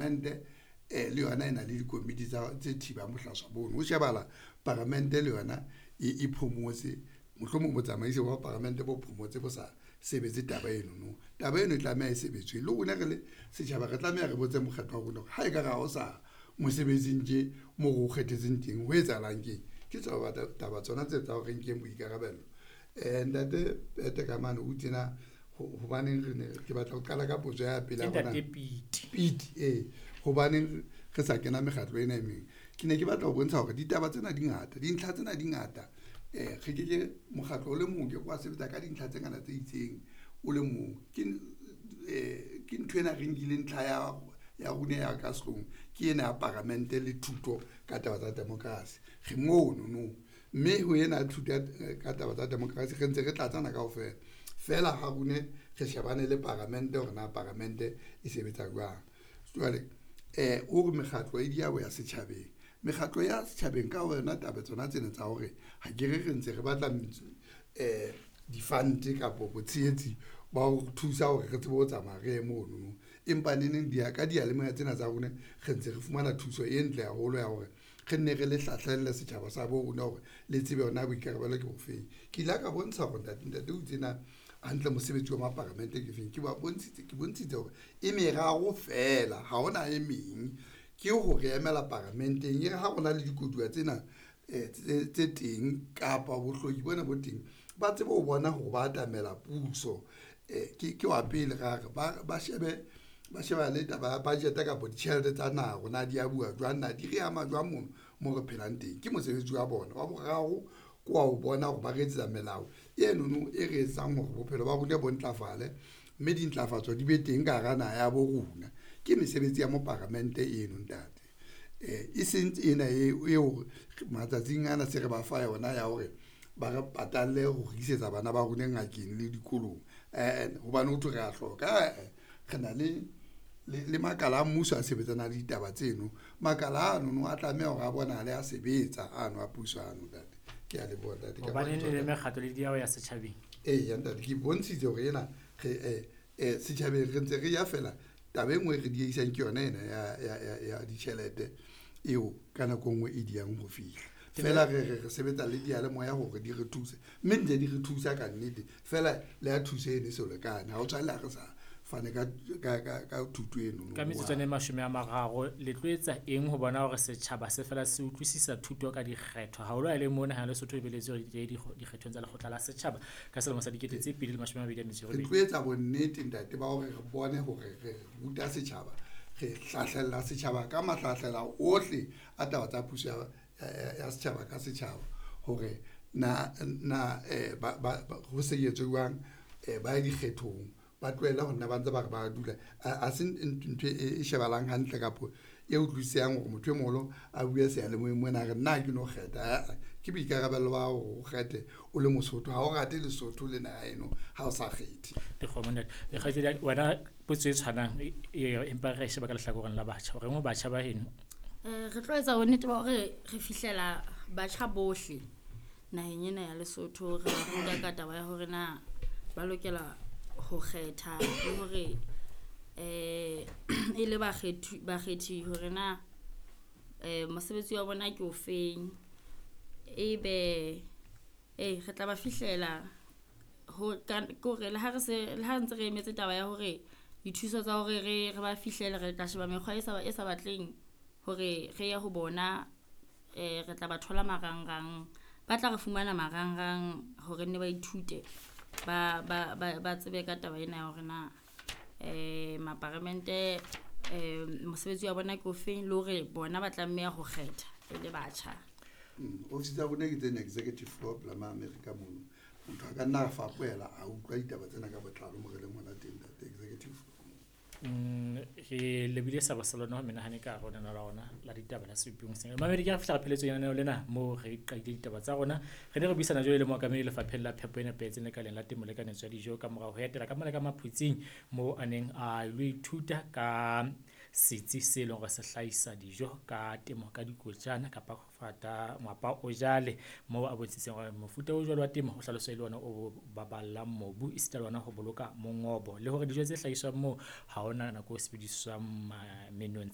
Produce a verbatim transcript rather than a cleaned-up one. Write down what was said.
Paramente eh le yona e na le dikomiti tsa tse thibang bohlaswa bono. Ho shebahala paramente le yona e e phomotse, mohlomong botsamaisi ba paramente bo phomotse bo sa sebetse taba eno no. Taba eno e tlameha e sebetswe le rona re le setjhaba, re tlameha re botse mokgetho wa rona hore ha ekare ha o sa mosebetsing tje mo re o kgethetseng teng ho etsahalang keng. Ke tsona taba tsona tseo tsa hore re nkeng boikarabello. Ntate Pete ka mane o tjena hobaneng re ne ke batla ho qala ka potso ya pele Ke ya rona. Ntate Pete. Pete ee, hobaneng re sa kena mekgatlo ena e meng. Ke ne ke batla ho bontsha hore ditaba tsena di ngata, dintlha tsena di ngata. Eh re ke ke mokgatlo o le mong ke wa sebetsa ka dintlha tse ngata tse itseng o le mong. Ke eh ke nthwena re nkile ntlha ya ya rona ya ka sehloohong ke ena ya paramente le thuto ka taba tsa democracy. Re mono no, mme ho ena thuto ka taba tsa democracy re ntse re tlatsana kaofela. Feela ha rone re shebane le paramente hore na paramente e sebetsa jwang. Jwale eh o re mekgatlo e di ya ho ya setjhabeng. Mekgatlo ya setjhabeng ka yona taba tsona tsena tsa hore ha ke re re ntse re batla eh di-fund kapa botshehetsi ba ho thusa hore re tsebe ho tsamaya re ye mono no. Empa neneng di ya ka diyalemoya tsena tsa rona re ntse re fumana thuso e ntle haholo ya hore re nne re le hlahlelle setjhaba sa bo rona hore le tsebe hore na boikarabelo ke bofeng. Ke ile ka bontsha hore ntate ntate o itse na hantle mosebetsi wa maparamente ke feng. Ke ba bontshitse ke bontshitse hore e meraro feela ha hona e meng. Ke hore emela paramenteng e re ha rona le dikoduwa tsena tse tse teng kapa bohloki bona bo teng, ba tsebe ho bona hore ba atamela puso. Ke ke wa pele ra re ba ba shebe ba sheba le taba ya budget kapa ditjhelete tsa naha hore na di a bua jwang, na di re ama jwang mono mo re phelang teng. Ke mosebetsi wa bona. Wa boraro ke wa ho bona hore ba re etsetsa melao eno no e re etsang hore bophelo ba rona bo ntlafale, mme dintlafatso di be teng ka hara naha ya bo rona. Ke mesebetsi ya moparamente eno ntate. E seng ena eo matsatsing ana se re ba fa yona ya hore ba re patalle ho re isetsa bana ba rona ngakeng le dikolong. Hobane ho thwe re a hloka ae re na le le makala a mmuso a sebetsanang le ditaba tseno. Makala ano no a tlameha hore a bonahale a sebetsa ano a puso ano ntate. Ke a leboha ntate. Hobaneng le mekgatlo le diaho ya setjhabeng? Eya ntate, ke bontshitse hore ena re eh setjhabeng re ntse re ya feela. Taba e nngwe e re diehisang ke yona ena ya ya ya ya ditjhelete eo ka nako e nngwe e diyang ho fihla. Feela re re re sebetsa le diyalemoya hore di re thuse, mme ntse di re thusa ka nnete. Feela le ha thuso eno e so lekane, ha o tshwane le ha re sa fane ka ka ka ka thuto eno. Ka metsotswana e mashome a mararo le tlo etsa eng ho bona hore setjhaba se fela se utlwisisa thuto ka dikgetho, haholo ha e le mona ha Lesotho e beletse hore di dikgethong tsa lekgotla la setjhaba ka selemo sa dikete tse pedi le mashome a mabedi a metso e Re robedi? tlo etsa bonnete ntate ba hore re bone hore re ruta setjhaba, re hlahlella setjhaba ka mahlahlela ohle a taba tsa puso ya ya setjhaba ka setjhaba hore na na eh ba ba ho se etswe jwang ba ye dikgethong, ba tlohelle ho nna ba ntse ba re ba dula. A se ntho e shebahalang hantle kapa e utlwisisehang hore motho e moholo a bue seyalemoyeng mona a re nna ha ke no kgetha. Ke boikarabelo ba hore o kgethe o le Mosotho, ha o rate Lesotho le naha eno ha o sa kgethe. Dikgomo ntate. Kgaitsedi wena potso e tshwanang empa re sheba ka lehlakoreng la batjha. O reng ho batjha ba heno? Eh re tlo etsa bonnete ba hore re fihlela batjha bohle naheng ena ya Lesotho, re ba ruta ka taba ya hore na ba lokela ho kgetha le hore eh e le bakgethi bakgethi hore na eh mosebetsi wa bona ke ofeng. Ebe ee re tla ba fihlela ho ka kore le ha re se le ha ntse re emetse taba ya hore dithuso tsa hore re re ba fihlele, re tla sheba mekgwa e sa e sa batleng hore re ye ho bona. Eh re tla ba thola marangrang, ba tla re fumana marangrang hore nne ba ithute ba ba ba ba tsebe ka taba ena ya hore na eh maparamente eh mosebetsi wa bona ke ofeng, le hore bona ba tlameha ho kgetha e le batjha. Ofisi tsa rona ke tsena executive floor pela ma America mono. Motho a ka nna a fapohela a utlwa ditaba tsena ka botlalo mo re leng hona teng ntate, executive floor. Mm, re lebile sa Barcelona ho menahane ka hare ho lenaneo la rona la ditaba la Sepong sena. Mamedi ke re fihla re pheletsong ya lenaneo lena moo re qadile ditaba tsa rona. Re ne re buisana jwale le mookamedi lefapheng la phepo e nepahetseng lekaleng la temo le kanetso ya dijo ka morao ho etela ka mona ka Maphutsing moo a neng a ilo ithuta ka setsi se leng hore se hlahisa dijo ka temo ka dikotjana kapa fata ngwapa o jale, moo a bontshitseng hore mofuta o jwalo wa temo o hlaloswa e le ona o baballang mobu esita le ona ho boloka mongobo, le hore dijo tse hlahiswang moo ha hona nako o sebediswang menontsha.